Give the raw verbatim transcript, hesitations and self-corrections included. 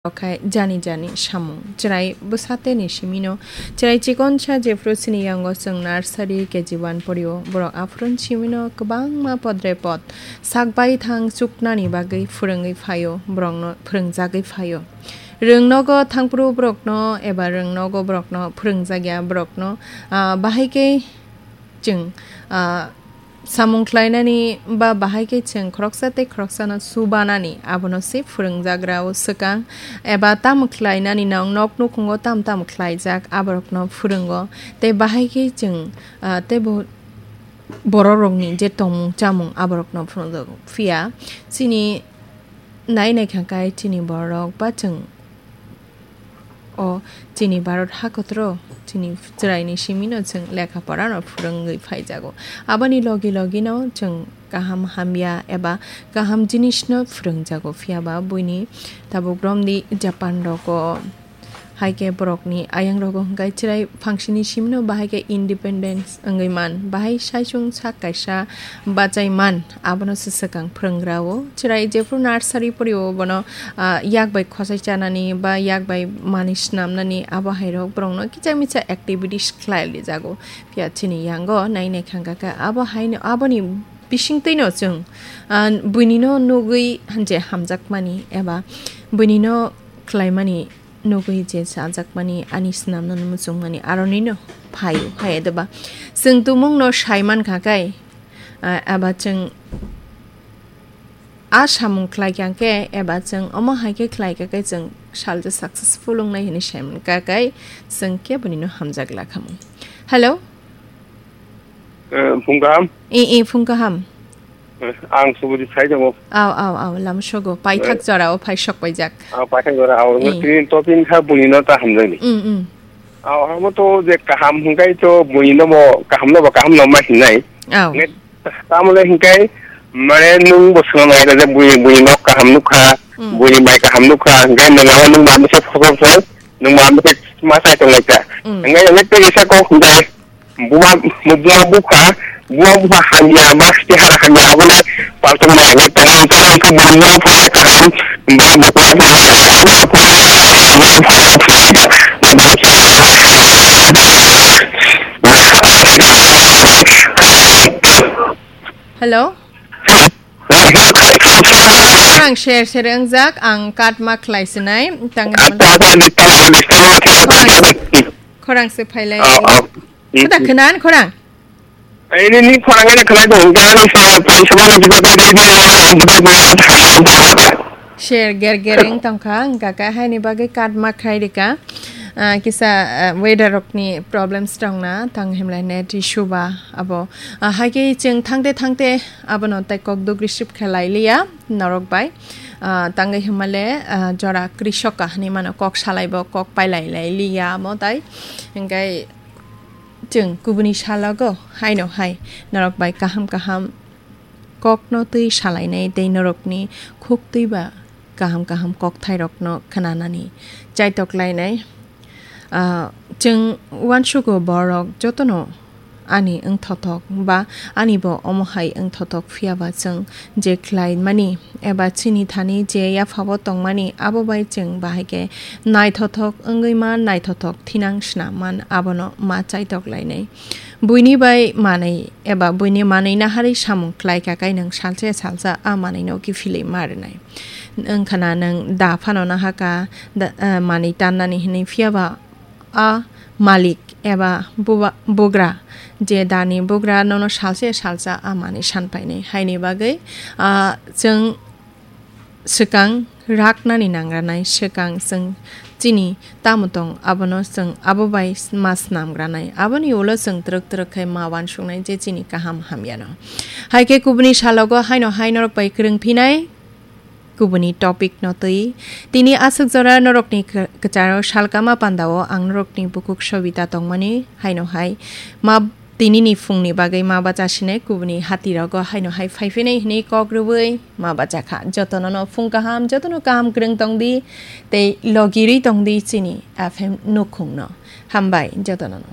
Okhai jani jani samung. Chwrai bwsateni simino, chwrai chikonsa jephru chini yango chwng nursery K G one porio, borok aphuru simino kwbangma podre pod sak bai thang chuknani bagwi phwrwngwi phaio, borokno phwrwngjagwi phaio. Rwng nogo thangphuru borokno eba rwng nogo borokno phwrwngjakya borokno, ah, bahai khe chwng, ah, samung khlainani ba bahai khe chwng khoroksa tei khoroksano chubanani, abono se phwrwngjagrao swkang, eba tamo khlainani nang nok nukhungo tam tam khlaijak, aborokno phwrwngo, tei bahai khe chwng, ah, tei bo-, bororokni je tongmung chamung aborokno phwrwngjago. Phiya chini nai nai kha khe chini bororok ba chwng o chini Bharat hakotoro chini chwraini simino chwng lekha porano phwrwngwi phaijago. Aboni logi logino chwng kaham hamya eba kaham jinisno phwrwngjago, phiya ba buini tabuk romdi Japan rogo hai khe borokni ayang rogo hwnkhe chwrai phangsini simino bahai khe independence wngwi man, bahai saichung sak kaisa bachai man, abono se swkang phwrwnggrao. Chwrai jephru nursery porio bono, ah, yak bai khosai chanani ba yak bai manwi snamnani, abo hairok borokno kicha micha activities khlai lijago. Phiya chini yango nai nai kha khe abo haino, aboni bisingtwino chwng, ah, buinino nugwi je hamjakmani eba buinino khlaimani nugwi je chajakmani, ani snamnani muchungmani aronino phaio, hai eba chwng tumungno sai man kha khe, ah, eba chwng a samung khlai kha khe, eba chwng omo hai khe khlai kha khe chwng salsa successful wngnai hwnwi sai man kha khe, chwng kebonino hamjak lakhamu. Hello? Eh, phung kaham? I, i, phung kaham. Eh, ang Subudip sai tongo. Aw, aw, aw, lamsogo. Paithak Eh. jorao phai sok paijak. Ah, paithak jora, aw, Eh. Tini topic kha buini no ta hamjani. Mm, mm. Aw, amo to je kaham hingkai to buini no bo kaham no bo kaham no ma hinai. Aw. Ne, tamole hingkai mane nung bo swnam nai je buini, buini no kaham nukha, Mm. buini bai kaham nukha, hingkai nung amo nung ma mese phobok phai, nung ma mese ma sai tong lai ta. Mm. Hingkai ne te isa ko hingkai Buma, buma bupha, buma bupha hamya, ba siti hara hamya, aboni paltung mai, mai tong, tong, tong, buma bupha kaham, ba buma bupha Hello? Khorang share, share wngjak, ang cut ma khlai sinai, tang Acha, acha, disturb, disturb, acha, acha, acha. Khorang se phailai. Oh, oh. Kuda khnan khorang? Ini ni khorang ini khlai dong, dan sa, sa, sa, sa, sa, sa, sa, sa, sa, sa, sa, sa. Share ger ger wng tongkha, hwnkha khe haini bagwi cut ma khlai rika. Ah, kisa, ah, weather rokni problems tongna, tang himlai net issue ba abo. Ah, hai khe chwng thangte thangte abono tai kok dugri sip khe lai liya norok bai. Ah, tangwi himale, ah, jora krisoka hinwi mano, kok salai bo kok pailai lai liya amo tai. Hingkai chwng kubuni salogo haino hai norok bai kaham kaham kokno twi salainai tei norokni khuktwi ba kaham kaham kokthairokno khnanani chaitok lainai. Ah, chwng uansugo borok jotono ani wngthothok ba ani bo omo hai wngthothok, phiya ba chwng je khlaimani eba chini thani je yaphabo tongmani abo bai chwng bahai khe naithothok wngwi man, naithothok thinang swnam man, abono ma chaitok lainai. Buini bai manwi eba buini manwi naharwi samung khlai kha khe nwng salsa salsa a manwino kiphilwi ma rwnai. Wngkhana nwng da phano nahakha da, eh, manwi tannani hinwi, phiya ba a malik eba buba-, bugra je dani bugra nono salsa salsa a manwi san painai. Haini bagwi, ah, chwng swkang raknani nangranai, swkang chwng chini tamo tong abono chwng abo bai ma snamgranai, aboni ulo chwng twrwk twrwk khe ma uansuknai je chini kaham hamyano. Hai khe kubuni salogo haino hai norok bai kwrwng phinai kubuni topic no twi. Tini aswk jora norokni kw-, kwcharo salkama pandao ang norokni bukhuk Sobita tongmani haino hai ma Tinini phungni bagwi ma bacha sinai kubuni hatirogo haino hai phai phinai hwnwi kok rwui ma bacha kha. Jotono no phung kaham, jotono kaham kwrwng tong di tei logirwi tong di chini F M nukhungno. Hambai jotono no.